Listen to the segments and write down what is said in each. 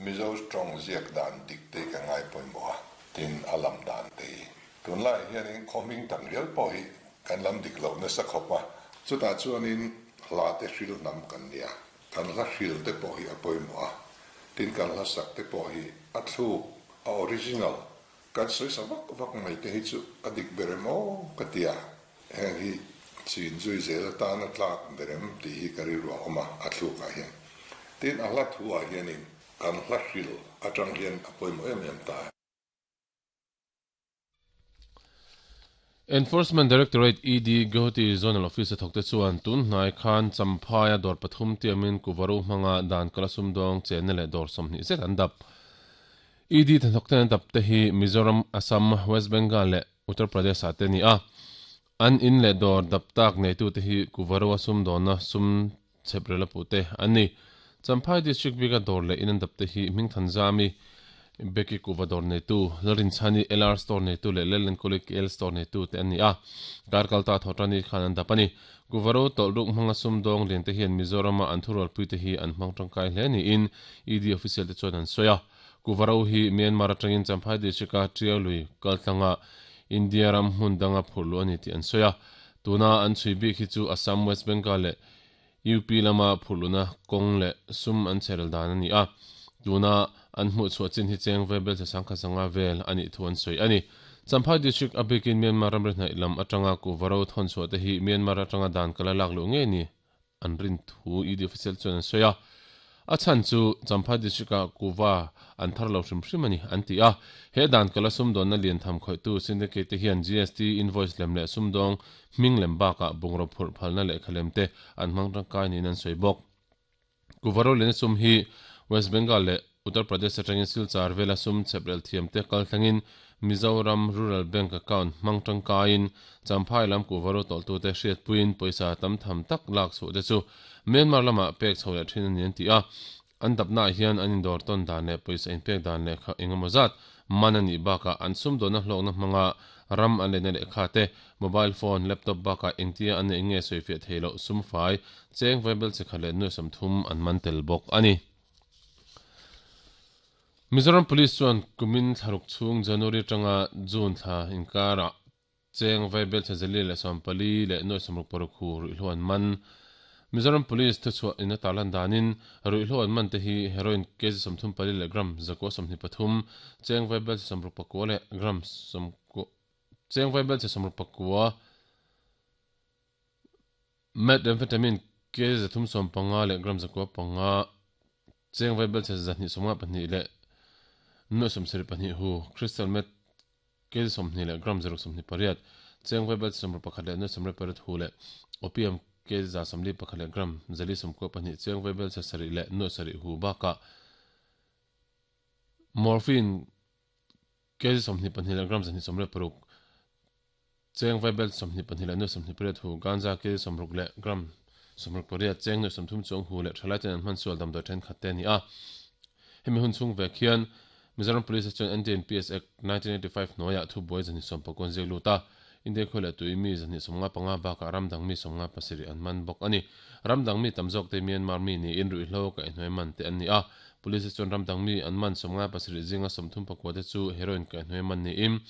Mizo tawng ziak dan dik te ka ngai pawimawh a, tin a lam dan te hi. Tunlaiah hianin khaw hming tam rial pawh hi kan lam dik loh nasa khawp a, chutah chuanin hla te hril hnam kan nia, kan hla hril te pawh hi a pawimawh a, tin kan hla sak te pawh hi a thluk, a original, kan sawi sa vak vak mai te hi chu a dik ber em aw ka ti a, heng hi chin zui zel atana tlak ber em tih hi ka rilru a awm a, a thlukah hian. Tin, a hla thuah hianin kan hla hril atang hian a pawimawh em em ta. Enforcement Directorate, ED, Guwahati Zonal Office a thawkte chuan tun hnai khan Champhaia dawr pathum tiamin Kuvaru hmanga dan kala sumdawng chenna leh dawr 20 zet an dap. ED hnathawkten an dap te hi Mizoram, Assam, West Bengal leh Uttar Pradesh ah te a ni a. An in leh dawr dap tak neitute hi Kuvarua sumdawnna sum chhep rel a puh te an ni. Champhai District bika dawr leh in an dap te hi Hmingthanzami, Becky Kuva dawr neitu, Lalrinchhani LR Store neitu leh Lalenkawli KL Store neitu te an ni a. Kar kalta Thawhṭani khan an dap a ni. Kuva ro tawlh ruk hmanga sumdawng lian te hian Mizorama an thurualpui te hi an hmang tangkai hle niin ED official te chuan an sawi a. Kuva ro hi Myanmar atangin Champhai District-a Tiau lui kaltlanga India ram hmun danga phurh luh a ni tih an sawi a. Tuna an chhui bik hi chu Assam, West Bengal leh UP lama phurh luhna kawng leh sum an chherel dan a ni a. Tuna an hmuh chhuah chin hi cheng ve belchhe sangkhat sanga vel a nih thu an sawi a ni. Champhai District a bikin Myanmar ramri hnaih lam atanga kuhva ro thawn chhuah te hi Myanmar atanga dan kala lak luh ngei ni an rin thu ED official chuan an sawi a, a chhan chu Champhai District-ah kuhva an thar lo hrim hrim a ni, an ti a. He dan kala sumdawnna lian tham khawihtu syndicate te hian GST invoice lem leh sumdawng hming lem bakah bungraw phurh phalna lehkha lem te an hmang tangkai niin an sawi bawk. Kuhva roliana sum hi West Bengal leh Uttar Pradesh atangin Silchar vela sum chheprel thiamte kal thlengin Mizoram Rural Bank account hmang tangkaiin Champhai lam kuhva ro tawlhtute hriatpuiin pawisa tam tham tak lak chhuah te chu Myanmar lamah pek chho leh thin a ni an ti a. An dapnaah hian an indawr tawn dan leh pawisa inpek dan lehkha engemaw zat man a nih bakah an sumdawnna hlawkna hmanga ram an leina lehkha te, mobile phone, laptop bakah engtia an neih nge sawifiah theih loh sumfai cheng vaibel chikhat leh nuai 30 an man tel bawk a ni. Mizoram Police chuan kumin thlaruk chhung January atanga June thla inkarah cheng vaibelchhe zali leh 14 leh nuai 66 hu ruihhlo an man. Mizoram Police thuchhuah in a tarlan danin ruihhlo an man te hi heroin kg 34 leh gram 123, cheng vaibelchhe 69 leh gram cheng vaibelchhe 69, Methamphetamine kg 315 leh gram 905, cheng vaibelchhe 252 leh nuai 72 hu, crystal meth kg 20 leh gram 628, cheng vaibelchhe 61 leh nuai 98 hu leh opium kg 141 leh gram 492, cheng vaibelchhe 7 leh nuai 7 hu bakah morphine kg 22 leh gram 226, Cheng vaibel 22 leh nuai 28 hu, ganja kg 60 leh gram 68, cheng nuai 30 chuang hu leh thalai ten an hman sual damdawi thenkhat te a ni a. Hemi hun chhung vek hian Mizoram Police chuan NDNPS Act, 1985 hnuaiah thubuai 219 an ziak lut a, India khawi leh tui mi 255 bakah ram dang mi 57 an man bawk a ni. Ram dang mi tam zawk te Myanmar mi niin ruihhlo kaihhnuai man te an ni a. Police chuan ram dang mi an man 57 zinga 34 te chu heroin kaihhnuai man niin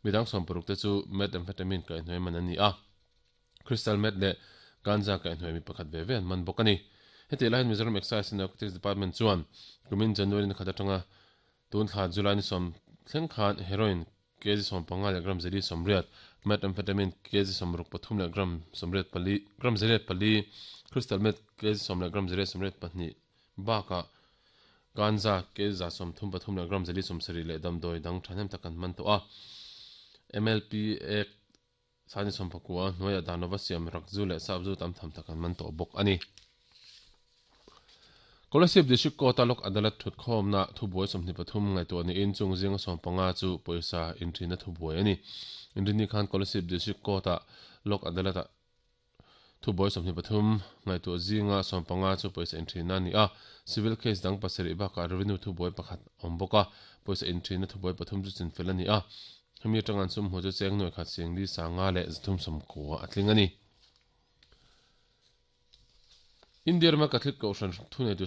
Midang 60 te chu methamphetamine kaihhnuai man an ni a, crystal meth leh ganja kaihhnuai mi pakhat ve ve an man bawk a ni. Hetiang lai hian Mizoram Excise and Narcotics Department chuan kumin January ni khat atanga tun thla July ni sawm thleng khan heroin kg 15 leh gram zeli 80, methamphetamine kg 63 leh gram 84 gram 84, crystal meth kg 10 leh gram 82 bakah Ganja kg 33 leh gram 70 leh damdawi dang thahnem tak an man tawh a. MLP Act sani 19 hnuaiah dan lova siam rakzu leh sapzu tam tham tak an man tawh bawk a ni. Kolasib District Court-a Lok Adalat thutkhawmna thubuai 23 ngaihtuah niin chung zinga 15 chu pawisa inthina thubuai a ni. Inrinni khan Kolasib District Court-a Lok Adalat-ah Thubuai 23 ngaihtuah zinga 15 chu pawisa inthina a ni a, civil case dang pasarih bakah revenue thubuai pakhat a awm bawk a, pawisa inthina thubuai pathum chu chinfel a ni a, hemi atanga an sum hmuh chu cheng nuai khat sing li sanga leh 390 a tling a ni. India rama Catholic Kohhran thuneitu.